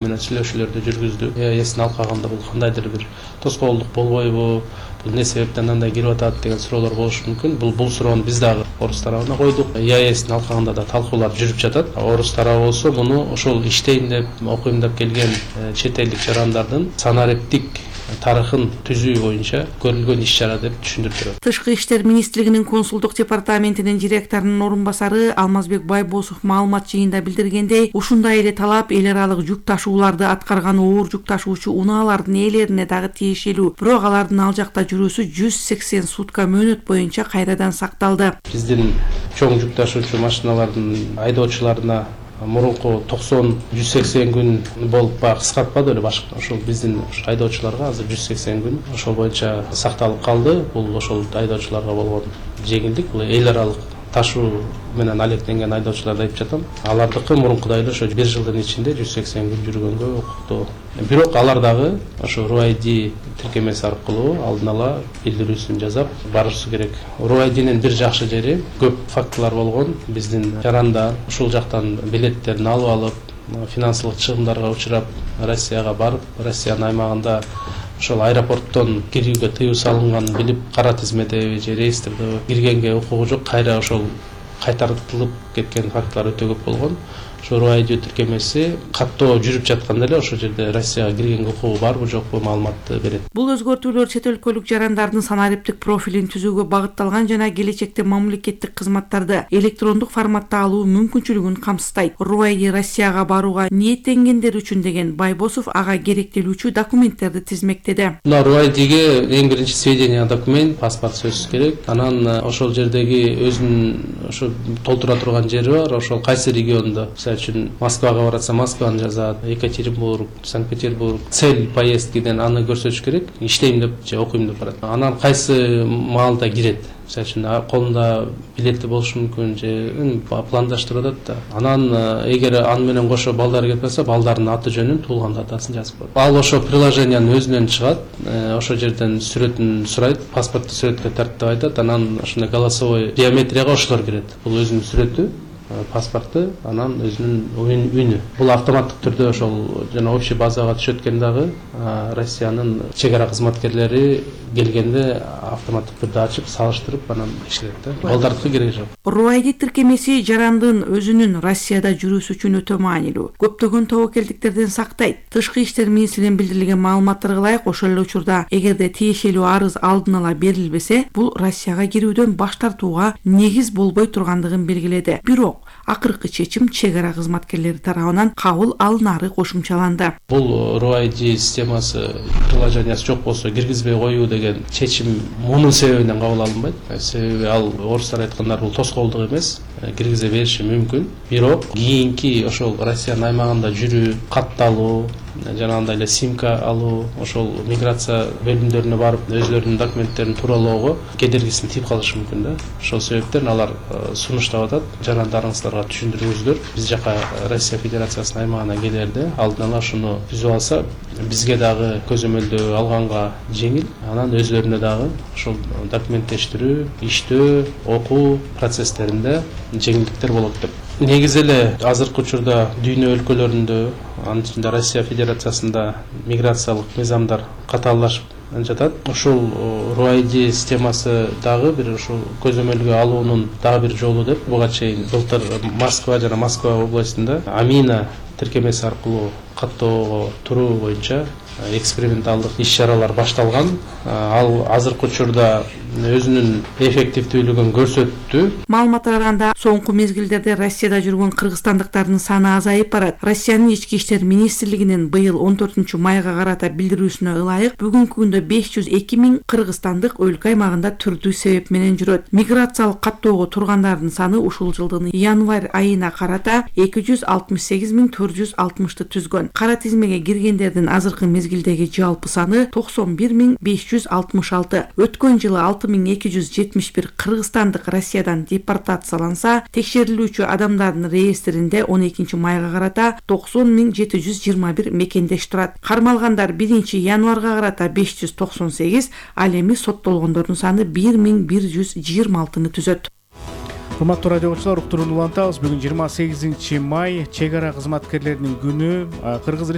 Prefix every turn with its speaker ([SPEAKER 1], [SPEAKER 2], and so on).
[SPEAKER 1] менен сүйлөшүүлөрдү жүргүздүк. ЕАЭСтин алкагында бул кандайдыр бир тоскоолдук болбойбу, бул эмне себептен андай кирип атат деген суроолор болушу мүмкүн. Бул суроону биз дагы орус тарабына койдук. ЕАЭСтин алкагында да талкуулар жүрүп жатат. Орус тарабы болсо муну ошол иштейм деп, окуйм деп келген чет элдик жарандардын санариптик тарыхын түзүү боюнча көрүлгөн иш-чара деп түшүндүрүп берет.
[SPEAKER 2] Тышкы иштер министрлигинин консулдук департаментинин директорунун орун басары Алмазбек Байбосов маалымат жыйында билдиргендей, ушундай эле талап эл аралык жүк ташууларды аткарган оор жүк ташуучу унаалардын ээлерине дагы тиешелүү. Бирок алардын ал жакта жүрүүсү 180 сутка мөөнөт боюнча кайрадан сакталды.
[SPEAKER 1] Биздин чоң жүк ташуучу машиналардын айдоочуларына мурунку 90-180 күн болуп кыскартпады эле башка. Ошол биздин айдоочуларга азыр 180 күн ошол боюнча сакталып калды. Бул ошол айдоочуларга болгон жеңилдик. Бул эл аралык ташуу менен алектенген айдоочуларды айтып жатам. Алардыкы мурункудай эле ошо 1 жылдын ичинде 180 күн жүргөнгө укуктуу. Бирок алар дагы ошо RUID тиркемеси аркылуу алдын ала билдирүүсүн жасап барышы керек. RUIDнин бир жакшы жери көп фактылар болгон. Биздин жарандар ушул жактан билеттерин алып алып, финансылык чыгымдарга учурап, Россияга барып, Россиянын аймагында ошол аэропорттон кирүүгө тыюу салынганын билип, кара тизмеде же реестрде киргенге укугу жок, кайра ошол кайтартылып кеткен фактылар өтө көп болгон. Ошо RUID тиркемеси каттоо жүрүп жатканда эле ошол жерде Россияга киргенге укугу барбы жокпу маалыматты берет.
[SPEAKER 2] Бул өзгөртүүлөр чет өлкөлүк жарандардын санариптик профилин түзүүгө багытталган жана келечекте мамлекеттик кызматтарды электрондук форматта алуу мүмкүнчүлүгүн камсыздайт. RUID Россияга барууга ниеттенгендер үчүн деген Байбосов ага керектелүүчү документтерди тизмектеди.
[SPEAKER 1] Мына RUID-ге эң биринчи сведения документ, паспорт сөзсүз керек. Анан ошол жердеги өзүнүн ошо толтура турган жери бар. Ошол кайсы региондо, үчүн Москвага баратса Москваны жазат, Екатеринбург, Санкт-Петербург, цель поездкиден аны көрсөтүш керек. Иштейм деп же окуйм деп барат. Анан кайсы маалда кирет. Үчүн колунда билети болушу мүмкүн же пландаштырып атат да. Анан эгер аны менен кошо балдары келип калса, балдарынын аты жөнүн, туулган датасын жазып коет. Ал ошо приложениянын өзүнөн чыгат. Ошо жерден сүрөтүн сурайт, паспортту сүрөткө тарттып айтат. Анан ошондой голосовой биометрияга ошолор кирет. Бул өзүнүн сүрөтү, паспорту, анан өзүнүн үнү. Бул автоматтык түрдө ошол жана общий базага түшөт экен дагы. Россиянын чек ара кызматкерлери келгенде автоматтык түрдө ачып, салыштырып анан текшерет да. Балдардыкы кереги жок.
[SPEAKER 2] RUID тиркемеси жарандын өзүнүн Россияда жүрүүсү үчүн өтө маанилүү. Көптөгөн тобокелдиктерден сактайт. Тышкы иштер министрлигинин билдирилген маалыматтарга ылайык, ошол эле учурда эгерде тиешелүү арыз алдын ала берилбесе, бул Россияга кирүүдөн баш тартууга негиз болбой тургандыгын белгиледи. Бирок акыркы чечим чек ара кызматкерлери тарабынан кабыл алынары кошумчаланды.
[SPEAKER 1] Бул RUID системасы, приложениясы жок болсо киргизбей коюу деген чечим мунун себебинен кабыл алынбайт. Себеби ал орустар айткандар бул тоскоолдук эмес, киргизе бериши мүмкүн. Бирок кийинки ошол Россиянын аймагында жүрүү, катталуу, жанагындай эле симка алуу, ошол миграция бөлүмдөрүнө барып өзлөрүнүн документтерин тууралоого кедергисин тийип калышы мүмкүн да. Ошол себептен алар сунуштап атат. Жарандарыңыздарга түшүндүрүңүздөр. Биз жака Россия Федерациясынын аймагына келерде алдын ала ушуну түзүп алса, бизге дагы көзөмөлдөө алганга жеңил. Анан өзлөрүнө дагы ошол документтештирүү, иштөө, окуу процесстеринде жеңилдиктер болот деп. Негизи эле азыркы учурда дүйнө өлкөлөрүндө, анын ичинде Россия Федерациясында миграциялык мыйзамдар катааллашып жатат. Ошол RUID системасы дагы бир ошол көзөмөлгө алуунун дагы бир жолу деп буга чейин былтыр Москва жана Москва областында Амина тиркемеси аркылуу каттоого туруу боюнча эксперименталдык иш-чаралар башталган. Ал азыркы учурда өзүнүн эффективдүүлүгүн көрсөттү.
[SPEAKER 2] Маалыматка караганда, соңку мезгилдерде Россияда жүргөн кыргызстандыктардын саны азайып барат. Россиянын ички иштер министрлигинин быйыл 14-майга карата билдирүүсүнө ылайык, бүгүнкү күндө 502 000 кыргызстандык өлкө аймагында түрдүү себеп менен жүрөт. Миграциялык каттоого тургандардын саны ушул жылдын январь айына карата 268 460 түзгөн. Кара тизмеге киргендердин азыркы мезгилдеги жалпы саны 91 566. Өткөн жылы 6271 кыргызстандык Россиядан депортацияланса, текшерилүүчү адамдардын реестринде 12-майга карата 90 721 мекендеш турат. Кармалгандар 1-январга карата 598, ал эми соттолгондордун саны 1126 түзөт.
[SPEAKER 3] Урматтуу радио окуучулар, уктурууну улантабыз. Бүгүн 28 май чек ара кызматкерлеринин күнү. Кыргыз